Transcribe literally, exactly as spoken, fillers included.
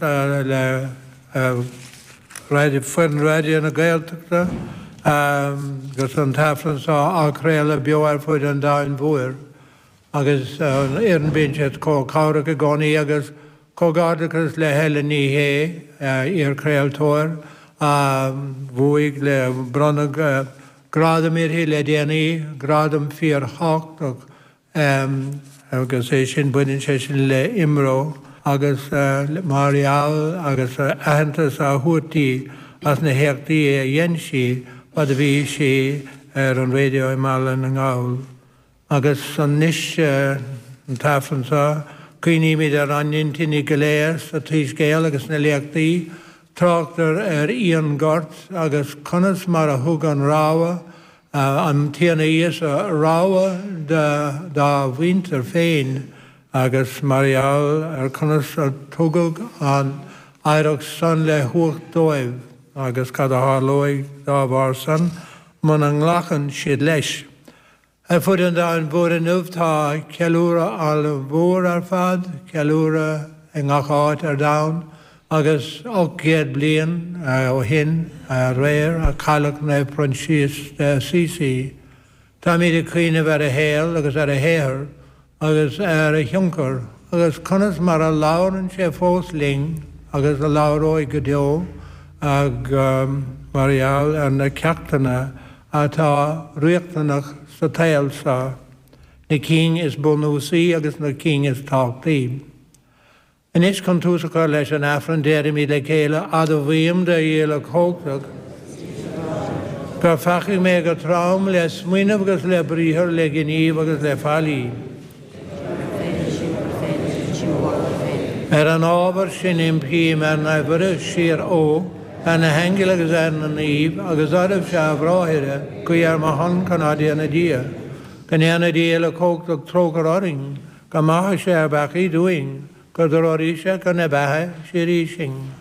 le foireann Raidió na Gaeltachta agus an tAifreann seo á chraoladh beo ar fud an domhain mhóir agus an fhoireann bíonn siad chomh cabhrach i gcónaí agus comhghairdeachas le Helen Ní Shé, iar-chraoltóir a bhuaigh le bronnadh gradam uirthi le déanaí, gradam fíorthábhachtach agus é sin baineann sé sin le IMRO agus mar gheall agus aitheantas á thabhairt di as na héachtaí a dhein sí fad a bhí sí ar an raidió i mBaile na nGall. Agus anois an tAifreann seo, cuimhnímid ar ár n-intinní go léir sa tSoiscéal agus sna léachtaí, tráchtar ar fhíonghort agus conas mar a thug an rogha, an Tiarna Íosa rogha dá mhuintir féin agus mar gheall ar conas a tugadh an oidhreacht san le huacht dóibh agus cad a tharlóidh dá bharr san muna nglacann siad leis. Ar fud an domhain mhóir inniu tá ceiliúradh an-mhór ar fad, ceiliúradh i ngach áit ar domhan agus ocht gcéad bliain ó shin aréir a cailleadh Naomh Proinsias de Assisi. Táimid ag cuimhneamh ar a shaol agus ar a shaothar agus ar a thionchar agus conas mar a labhrann sé fós linn agus a labhróidh go deo mar gheall ar na ceachtanna atá riachtanach sa tsaol seo, na cinn is bunúsaí agus na cinn is tábhachtaí. Anois chun tús a chur leis an Aifreann déarfaimid le chéile, Admhaím do Dhia Uilechumhachtach, gur pheacaigh mé go trom le smaoineamh agus le briathar, le gníomh agus le faillí. Ar an ábhar sin impím ar Naomh Muire Síor-Fhiodh, ar na haingil agus ar na naoimh, agus oraibhse, a bhráithre, guí ar mo shon chun ár dTiarna Dia. Go ndéana Dia Uilechumhachtach trócaire orainn, go maithe sé ár bpeacaí dúinn, go dtreoraí sé chun na beatha síoraí sinn.